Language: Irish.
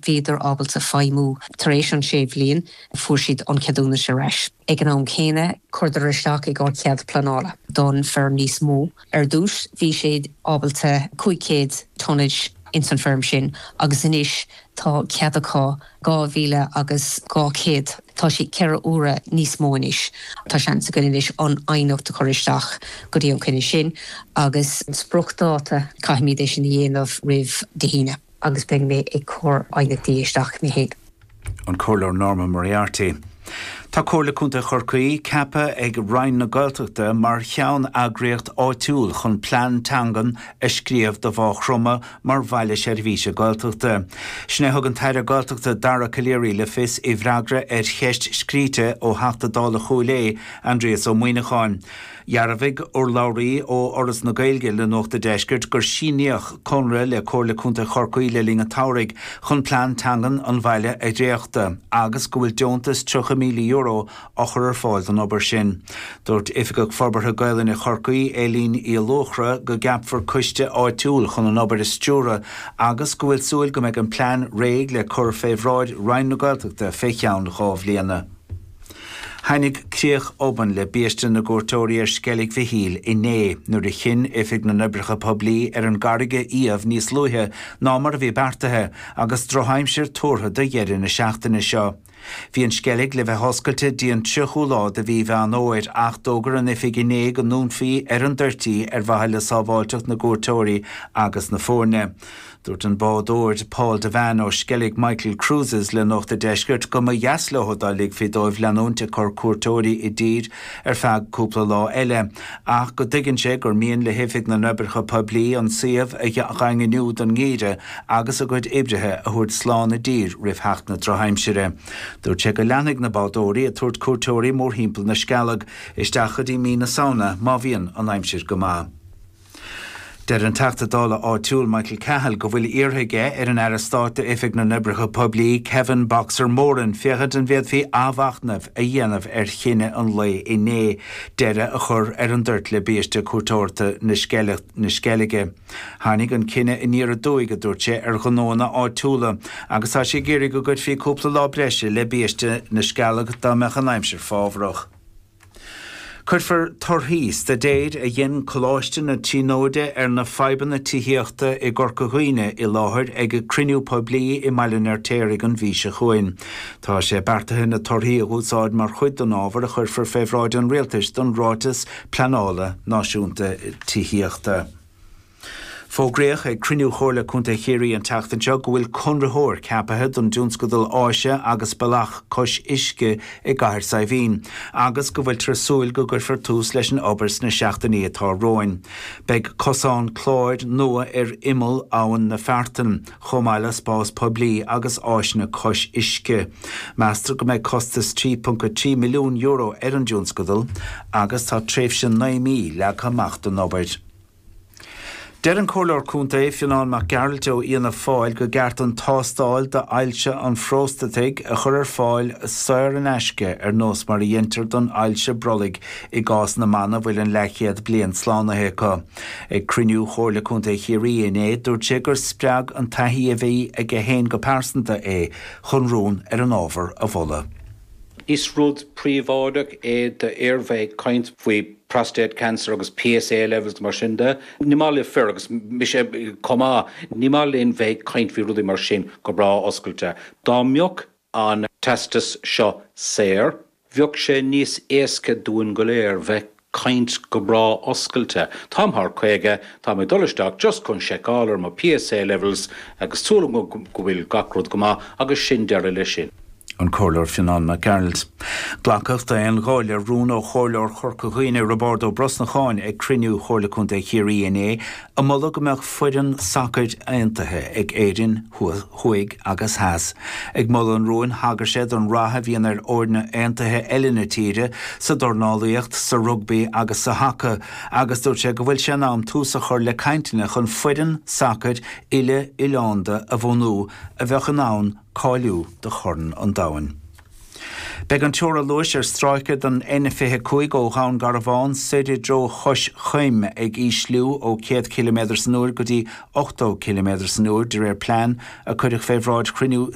Bhíodar ábalta feidhmiú tar éis an sé bhliain, fuair siad an ceadúnas ar ais. Ag an am céanna, chuireadar isteach i gcomhair cead pleanála don feirm níos mó. Ar dtús, bhí siad ábalta 500 tonnage ins an feirm sin agus anois tá cead acu 2,000 agus 200. Tá sé ceithre huaire níos mó anois. Tá seans againn anois an aighneacht a chur isteach go dtí an coinne sin agus an spriocdháta, caithfimid é sin a dhéanamh roimh Dé hAoine. Agus beidh mé ag cur aighneachtaí isteach mé féin. An Comhairleoir Norma Moriarty. Tá Comhairle Contae Chorcaí ceaptha ag Roinn na Gaeltachta mar cheann-eagraíocht áitiúil chun plean teangan a scríobh do Mhaigh Chromtha mar bhaile seirbhíse Gaeltachta. Sin é a thug an tAire Gaeltachta Dara Calleary le fios i bhfreagra ar cheist scríte ó Theachta Dála Chúil Aodha, Aindrias Ó Muimhneacháin. Dhearbhaigh urlabhraí ó Fhoras na Gaeilge le Nuacht a' Deiscirt gur síníodh conradh le Comhairle Contae Chorcaí le linn an tsamhraidh chun plean teangan an bhaile a dhréachtadh agus go bhfuil deontas €30,000 á chur ar fáil don obair sin. Dúirt Oifigeach Forbartha Gaelainne Chorcaí, Éilín Uí Luachra, go gceapfar coiste áitiúil chun an obair a stiúradh agus go bhfuil súil go mbeidh an plean réidh le cur fé bhráid Roinn na Gaeltachta fé cheann 2 bhliana. Tháinig críoch obann le biaiste na gcuairteoirí ar Sceilg Mhichíl inné nuair a chinn Oifig na nOibreacha Poiblí ar an gcarraig a iamh níos luaithe ná mar a bhí beartaithe agus drochaimsir tuartha do dheireadh na seachtaine seo. Bhí an Sceilg le bheith oscailte dtí an 30ú lá de mhí Mheán Fhómhair ach d'fhógair an Oifig inné go ndúnfaí ar an dtoirt í ar mhaithe le sábháilteacht na gcuairteoirí agus na foirne. Dúirt an bádóir Paul Devane ó Skellig Michael Cruises le Nuacht a' Deiscirt go mba dheas leo dá ligfí dóibh leanúint ag cur cuairteoirí i dtír ar feadh cúpla lá eile ach go dtuigeann sé gur mian le hOifig na nOibreacha Poiblí an suíomh a dhaingniú don ngeimhreadh agus a gcuid oibrithe a thabhairt slán i dtír roimh theacht na drochaimsire. Dúirt sé go leanfaidh na bádóirí ag tabhairt cuairteoirí mórthimpeall na Scealg isteach go dtí mí na Samhna má bhíonn an aimsir go maith. Deir an Teachta Dála áitiúil Michael Cahill go bhfuil iarrtha aige ar an Aire Stáit d'Oifig na nOibreacha Poiblí Kevin 'Boxer' Moran féachaint an bhféadfaí athmhachnamh a dhéanamh ar chinneadh an lae inné deireadh a chur ar an dtoirt le biaiste cuairteoireachta na Sceilge. Tháinig an cinneadh aniar aduaidh, a dúirt sé, ar ghnóanna áitiúla agus tá sé ag iarraidh go gcuirfí cúpla lá breise le biaiste na Scealg dá mbeadh an aimsir fábhrach. Cuirfear torthaí staidéir a dhein Coláiste na Tríonóide ar na fadhbanna tithíochta i gCorca Dhuibhne i láthair ag cruinniú poiblí i mBaile an Fheirtéaraigh an mhí seo chugainn. Tá sé beartaithe na torthaí a úsáid mar chuid den ábhar a chuirfear fé bhráid an Rialtais don Ráiteas Pleanála Náisiúnta Tithíochta. Fógraíodh ag cruinniú Chomhairle Contae Chiarraí an tseachtain seo go bhfuil conraitheoir ceapaithe don dtionscadal áise agus bealach cois uisce i gCathair Saidhbhín agus go bhfuiltear ag súil go gcuirfear tús leis an obair sna seachtainí atá romhainn. Beidh cosán cláir nua ar imeall Abhainn na Feartan, chomh maith le spás poiblí agus áiseanna cois uisce. Meastar go mbeidh costas €3.3 milliún ar an dtionscadal agus tá tréimhse 9 mí leagtha amach don obair. Deir an Comhairleoir Contae, Fionán Mac Gearailt ó Fhianna Fáil go gceart an tástáil d'ailse an phróstataigh a chur ar fáil saor in aisce ar nós mar a dheintear don ailse brollaigh i gcás na mban a bhfuil an leathchéad bliain slánaithe acu. Ag cruinniú Chomhairle Contae Chiarraí inné dúirt sé gur spreag an taithí a bhí aige féin go pearsanta é chun rún ar an ábhar a mholadh. Is rud príobháideach é d'fhir bheith ag caint faoi prostate cancer agus PSA levels mar sin de. Ní maith le fir, agus mise chomh maith, ní maith linn bheith ag caint faoi rudaí mar sin go breá oscailte. Dá mbeadh an teastas seo saor, bheadh sé níos éasca dúinn go léir bheith caint go breá oscailte. Táim thar 50, táim ag dul isteach just chun seiceáil ar mo PSA levels agus súil agam go bhfuil gach rud go maith agus sin deireadh leis sin. An Comhairleoir Fionán Mac Gearailt. Glacadh d'aon ghuth le rún ó Chomhairleoir Chorca Dhuibhne, Roibeárd Ó Brosnacháin ag cruinniú Chomhairle Contae Chiarraí inné a moladh go mbeadh foireann sacair aontaithe ag Éirinn thuaidh agus theas. Ag moladh an rúin, thagair sé don rath a bhíonn ar fhoirne aontaithe eile na tíre sa dornálaíocht, sa rugbaí agus sa haca agus dúirt sé go bhfuil sé in am tús a chur le cainteanna chun foireann sacair uile-oileánda a bhunú a bheadh in ann cáiliú do Chorn an Domhain. Beidh an teora luais ar stráice den N25 ó Dhún Garbhán soir i dtreo Chois Choim ag ísliú ó 100 ciliméadar san uair go dtí 80 ciliméadar san uair de réir plean a cuireadh fé bhráid chruinniú.